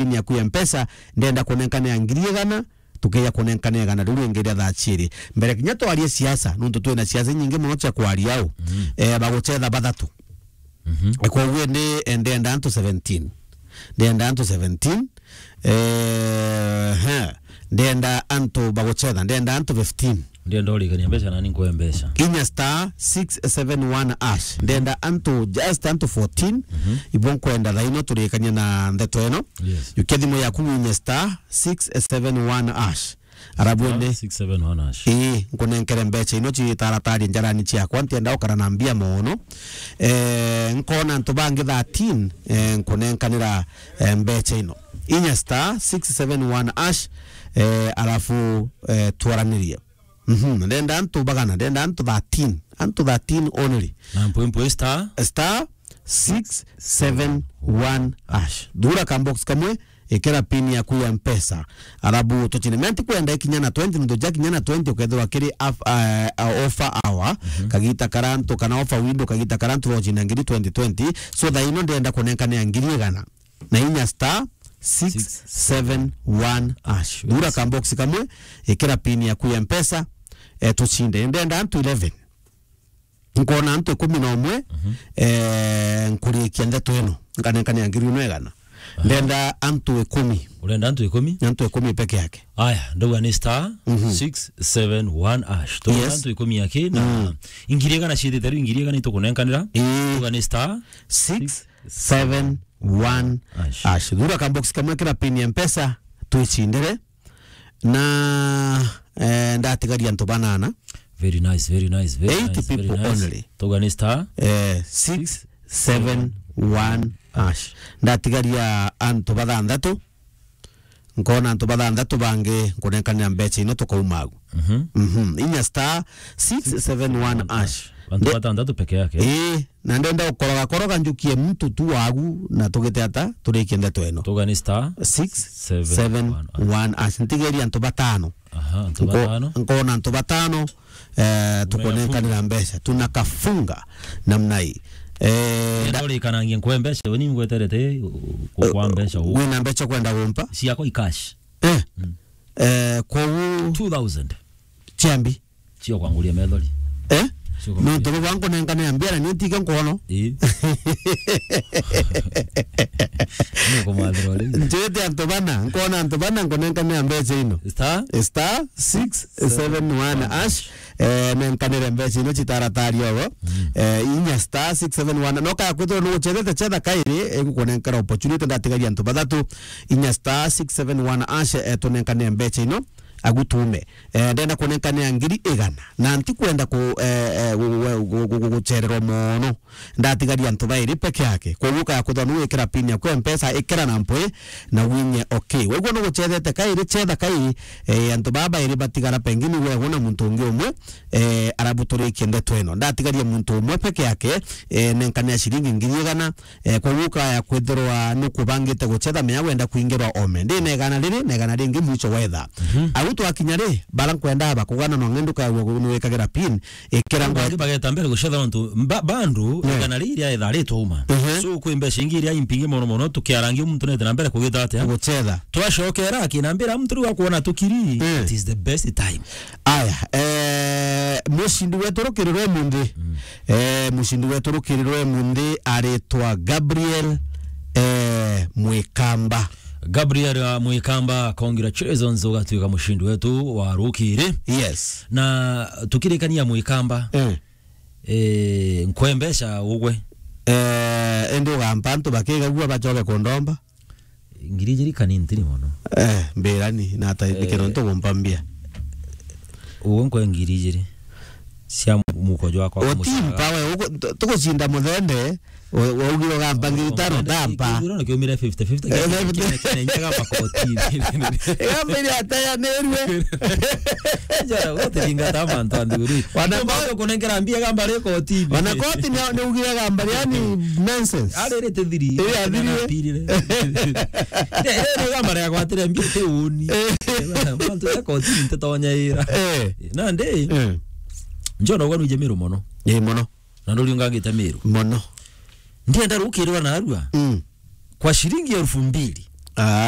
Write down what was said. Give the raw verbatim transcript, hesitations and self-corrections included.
pin yaku ya Mpesa, ndenda kunenkanea ngiri igana, tukeja kunenkanea igana riu ringi ria thaa ciiri. Mbere kinya twarie siasa, nontu twina siasa inyingi mono cia kwaria au. Mm. Eh, bagucetha bathatu. Mhm. Koguo ndi, eh, ndenda antu seventeen. Ndenda antu seventeen. Eh, he. Ndenda antu bagucetha, ndenda antu fifteen. Ndenda urikania mbeca nani nkwe mbeca. Inya star six seven one hash. Ndenda antu, just antu fourteen. Mhm. Ibo nkwenda thaa ino turikania na ndeto ino. Yes. Yukia thimu yaku inya star six seven one hash. Arabu ende. Star six seven one hash. Ii, nkunenkere mbeca ino citaratari njarani ciakwa, ntienda ukara na mbia mono. Eh, nkona antu bangi thirteen, eh, nkunenkanira, eh, mbeca ino. Inya star six seven one hash, eh, arafu, eh, twaranirie. Mhm, ndenda antu bagana, ndenda antu thirteen, antu thirteen only. Na mpwi mpwi star? Star six seven one hash. Thura ka box kamwe, ikira pin yaku ya Mpesa. Arabu tuchine. Mea ntikwenda ikinya na twenty, nontu ja kinya na twenty ukethirwa kiri af-, eh, offer hour, mhm, kagita karantu, kana offer window, kagita karantu rochina ngiri twenty twenty. So thaa ino ndenda kunenkanea ngiri igana na inya star six seven one hash. Thura ka box kamwe, ikira pin yaku ya Mpesa, eh, tuchinde. Ndenda antu eleven. Nkona antu ikumi na umwe, mhm, eh, nkurikia ndeto ino, nkanenkania ngiri ino igana. Aha. Ndenda antu ikumi. Urenda antu ikumi? Antu ikumi peke yake. Aya, ndauga ni star, mhm, six seven one hash. Tugweta, yes, antu ikumi aki na, mm, ingiri igana ciithite riu, ingiri igana itukunenkanira. Ii. Tugweta ni star six seven one hash. Hash. Thura ka box kamwe, kira pin ya Mpesa, twicindire. Na, eh, ndatigaria antu banana. Very nice, very nice, very nice, very nice. Eight people only. Tugweta ni star, eh, six seven one hash. Ndatigaria antu bathanthatu. Nkona antu bathanthatu bangi nkunenkanira mbeca ino tukauma agu. Mhm. Mhm. Inya star six seven one hash. Antu bathanthatu peke yake. Ii, na ndenda gukoroga koroga njukie muntu tu wagu na tugite ata turikie ndeto ino. Tugweta ni star six seven one hash. Ntigeria antu batano. Aha, antu batano. Nkona antu batano, eh, tukunenkanira mbeca. Tunakafunga namna hii. Eh, nda- ndorikanangie nkwe mbeca, we ni ngweterete, u-, u-, kwa mbeca u- wina mbeca kwenda gumpa? Ciakwa i cash. Eh. Mm. Eh, koguo two thousand. Ciambi. Cio kwanguria methori. Eh? Cio kwanguria. Nontu bwa nkunenkanira mbia na ni ntige nkono. Ii. Ni kumwathira uri. Njite antu bana, nkona antu bana nkunenkanira mbeca ino. Star? Star six seven one hash. Eh, nenkanire mbeca ino citaratari ogo. Mm. Eh, inya star six seven one. No kaya kwithirwa nugucethete cetha kairi, igukunenkera opportunity, ndatigaria antu bathatu. Inya star six seven one hash, eh, tunenkanire mbeca ino. Agu tuume. Eh, ndenda kunenkanira ngiri igana. Na ntikwenda ku-, eh, eh, gu-, gu-, gu-, gu-, gu-, gucererwa mono. Ndatigaria antu bairi peke yake. Koguo kaya kwithirwa nuwikira pin yaku ya Mpesa, ikira na mpwi na winye okay. Wegua nugucethete kairi, cetha kairi, eh, antu baa bairi batigara pengine wegua na muntu ungi umwe, eh, arabu turikie ndeto ino. Ndatigaria muntu umwe peke yake, eh, nenkanira ciringi ngiri igana, eh, koguo kaya kwithirwa nukubangite gucetha, mea wenda kwingirwa ome. Ndi na igana riri, na igana ringi mwicho wetha. Mhm. Au twakinya ri, bara nkwenda bakugana no ngendu kaya gu-, nuwikagira pin, ikira ngwe- Bangi bageta mbere gucetha nontu mba-, bandu, yeah, igana riri riaetha ritwauma. Mhm. So, kwi mbeca ingi iria impingi mono mono, tukiarangia muntu nete na mbere kugita atia? Gucetha. Twacokera, akinambira, "Muntu riu akwona tukiri, mm, it is the best time." Aya, eh, mucindi wetu rukiri rwa umunthi. Mm. Eh, mucindi wetu rukiri rwa umunthi aritwa Gabriel, eh, Mwikamba. Gabriel, uh, Mwikamba, congratulations, ugatuika mucindi wetu wa rukiri. Yes. Na tukirikania Mwikamba, eh, eh, nkwe mbeca ugwe. Eh, indi ugampa antu bakigagua bacoke kundomba. Ngiri ijiri kani ntini mono. Eh, mbirani, na ata, eh, nikiro ntu gumpa mbia. Ugu nkwe ngiri ijiri cia mu-, muko jwakwa. Utimpa we, ugu-, tu-, tugucinda muthende, u-, waugire ugampa ngiri itano, ndampa. Ithurano kiumire fifty fifty, eh, kene, fifty. Kene, kene, nyaga makotini. Igamba iria atayanirue. Njara, uguthingata mantu a nthiguru. Wana- Ndio maana kunengera mbia gamba ri kotini. Wana koti ni, ni ugire gamba, yani nonsense. Arerete thiri. Eh, athirire. Apirire. Ire, ire, ire gamba ria gwatire mbia ti uni. Eh. Mantu ya kotini ntitonya ira. Eh. Nandi, eh, njona ugwa nwije Miru mono. Ii, mono. Na nduri ungangite Miru. Mono. Ndienda rukirwa narua. Mm. Kwa shilingi elfu mbili. Ai.